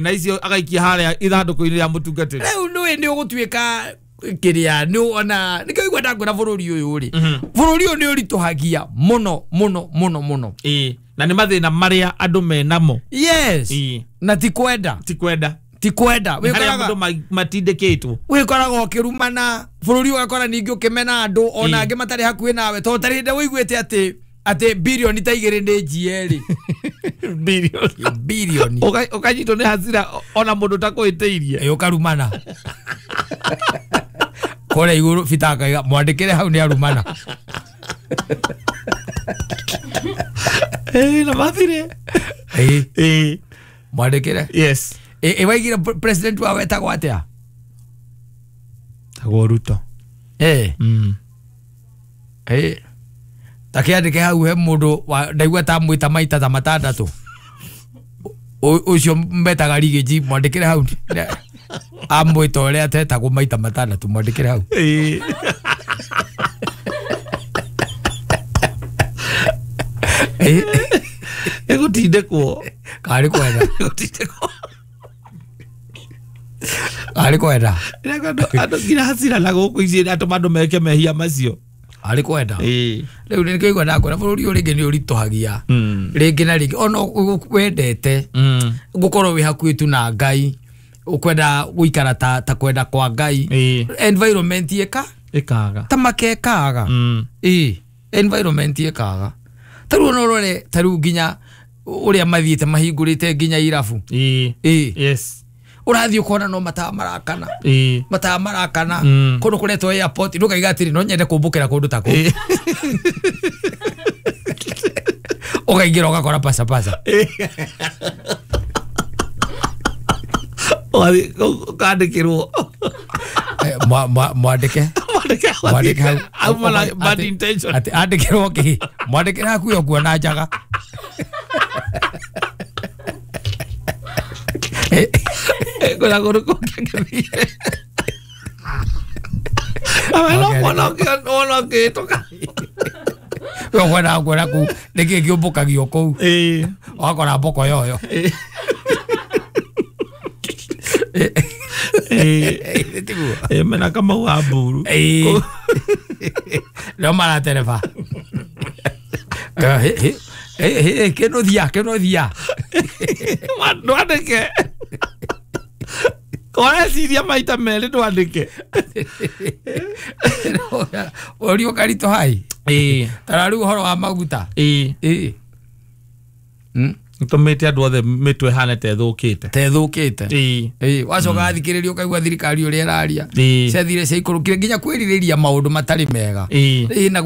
Na icio agaikia harĩa ithandũkũ-inĩ rĩa mũtungatĩri. Rĩu nĩũĩ nĩ ũgũtuĩka kĩrĩa nĩ ona nĩkĩo igua ndakwĩra bũrũri ũyũ rĩ, bũrũri ũyũ nĩ ũritũhagia mũno mũno mũno mũno. Ĩĩ, na nĩ mathĩna marĩa andũ menamo. Yes. Ĩĩ. Na ti kwenda. Ti kwenda. Ti kwenda. Nĩ harĩa mũndũ matindĩkĩtwo. Wĩkoraga ũkĩrumana bũrũri, ũgakora ningĩ ũkĩmena andũ ona angĩ matarĩ hakuhĩ nawe, tondũ tarĩ hĩndĩ ũiguĩte atĩ birioni ta 2 nĩ njie rĩ. Birioni. Birioni. Ũkanyitwo nĩ hasira ona mũndũ ũtakwĩtĩirie. Ĩ, ũkarumana kũrĩa igũrũ. Bita akaiga mwandĩkĩre hau nĩ arumana. Ĩ, na mathire. Ĩ. Ĩ. Mwandĩkĩre. Yes. Ĩ, waigire president wao etagwo atĩa? Tagwo Ruto. Ĩ. Ĩ, takĩandĩke hau he mũndũ ndaigua ta mwĩta maita ta matandatũ, ũcio metaga rigĩji, mwandĩkĩre hau amwĩta ũrĩa atetagwo maita matandatũ, mwandĩkĩre hau. Ĩ. Ĩ. Ĩgũtindĩkwo. Karĩ kwenda. Ĩgũtindĩkwo. Karĩ kwenda. Andũ nginya hasira na gũkũ ici atũma andũ meke mehia macio. Arĩ kwenda. Ĩ. Rĩu nĩkĩo igua ndakwĩra bũrũri ũyũ rĩngĩ nĩ ũritũhagia rĩngĩ na rĩngĩ, ona wendete gũkorwo wĩ hakuhĩ tu na Ngai, ũkwenda gũikara ta kwenda kwa Ngai, Ĩ. environment ĩka Ĩkaga. ta makekaga. Ĩ, environment ĩkaga. Ta rĩu ona ũrore ta rĩu nginya ũrĩa mathiĩte mahingũrĩte nginya irabu. Ĩ. Ĩ. Yes. Ũrathiĩ ũkona no matawa marakana. Ĩ. Matawa marakana. Kũndũ kũretwo airport ndũkaiga atĩrĩ no nyende kũmbũkĩra kũndũ ta kũu. Ĩ. Ũkaingĩra ũgakora pasa pasa. Ũgathiĩ ũkandĩkĩrwo. Mwandĩke. Mwandĩke. Mwandĩke hau. Auma na bad intention. Atĩ andĩkĩrwo kĩ? Mwandĩkĩre hakuhĩ ũkuona njaga. Kwĩna kũndũ kũngĩ angĩthiire. Nawe no kuona wona ũkĩhĩtũka. We ũkwendaga kuona kũu nĩkĩĩ kĩũmbũkagio kũu. Ĩ. Ũgakora mboko yoyo. Ĩ. Ĩ. Tiguo. Ĩ, mena Kamau wa Mburu. Ĩ. Nĩo maratereba. Kĩnũthia kĩnũthia. Ndwandĩke. Ũreciria maita merĩ ndwandĩke. Ũria ũkaritũha ĩ. Ĩ. Tara rĩu ũhoro wa maguta. Ĩ. Ĩ. Nĩtũmĩte andũ othe mĩtwe ĩhane ta ĩthũkĩte. Ta ĩthũkĩte. Ĩ. Ĩ, wacoka wathikĩrĩria ũkaigua thirikari ũrĩa ĩraria. Ĩ. Ciathire ciaikũrũkire nginya kwĩrirĩria maũndũ matarĩ mega. Ĩ. Ĩ, na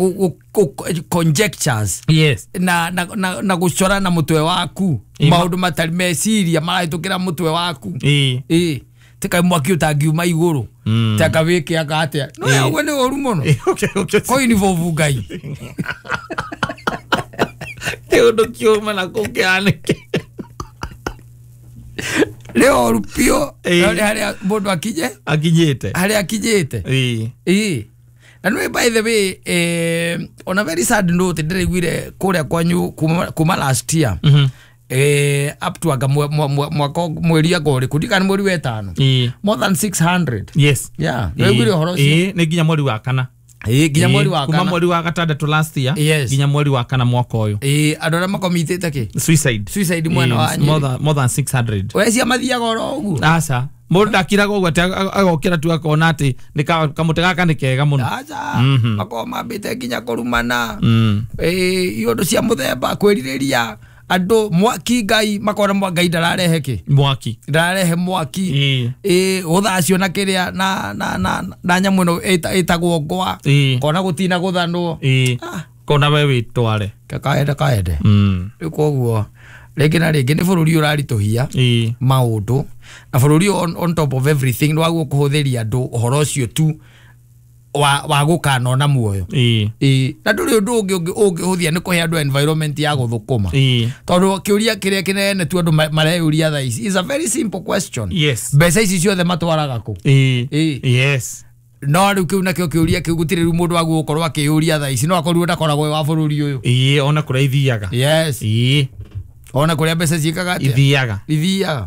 conjectures. Yes. Na na na, na gũcora na mũtwe waku Ĩ, maũndũ matarĩ meciria marahĩtũkĩra mũtwe waku. Ĩ. Ĩ, tika mwaki ũtangiuma igũrũ, taka wĩke anga atĩa no Ĩ. ũguo nĩ ũru mũno. Ĩ, okay, okay. Kũinvolve Ngai. Kĩũndũ kiuma na kũu kĩhanĩke. Nĩ ũru biũ. Ĩ. No nĩ harĩa mũndũ akinye Akinyĩte. harĩa akinyĩte. Ĩ. Ĩ, na nĩ by the way, on a very sad note, ndĩraiguire kũrĩa kwanyu kuma last year up to anga mwaka mweri anga ũrĩkũ, ndikana mweri wa ĩtano, Ĩ. more than 600. Yes. Yeah, nĩwaiguire ũhoro ũcio? Ĩ, nĩ nginya mweri wa kana. Ĩ, nginya mweri wa Kuma kana. mweri wa gatandatũ last year Yes. nginya mweri wa kana mwaka ũyũ. Ĩ, andũ arĩa makomitĩte kĩ Suicide. Suicide mwena wa Yes, Nyĩrĩ. more than 600. Wecia mathiaga oro ũguo. Aca, mũndũ ndakiraga ũguo atĩ agokĩra tu akona atĩ nĩ kamũtĩ gaka nĩ kega mũno. Aca, makoragwo mambĩte nginya kũrumana. Ĩ, iũndũ cia mũthemba kwĩrirĩria andũ mwaki Ngai makona Ngai ndararehe kĩ Mwaki. ndararehe mwaki. Ĩ. Ĩ, gũthacio na kĩrĩa na na na na nyamũ ĩno ĩtagwo ngwa. Ĩ. Kona gũtina gũthanwo. Ĩ. Ah. Kona we wĩtware. Kaende kaende. Rĩu koguo rĩngĩ na rĩngĩ nĩ bũrũri ũraritũhia Ĩ. maũndũ, na bũrũri on top of everything nĩwaguo kũhũthĩria andũ ũhoro ũcio tu wa gũkanona muoyo. Ĩ. Ĩ, na ndũrĩ ũndũ ũngĩ ũngĩhũthia nĩ kũhe andũ environment ya gũthũkũma. Ĩ. Tondũ kĩũria kĩrĩa kĩnene tu andũ mareyũria thaa ici is a very simple question. Yes. Mbeca ici ciothe matwaraga kũ? Ĩ. Ĩ. Yes. No rĩu kĩu nakĩo kĩũria kĩu gũtirĩ rĩu mũndũ wagwo gũkorwo akĩyũria thaa ici, no akorirwo ndakoragwo wĩ wa bũrũri ũyũ. Ĩ, ona kũrĩa ithiaga. Yes. Ĩ. Ona kũrĩa mbeca ciĩkaga atĩa? Ithiaga. Ithiaga.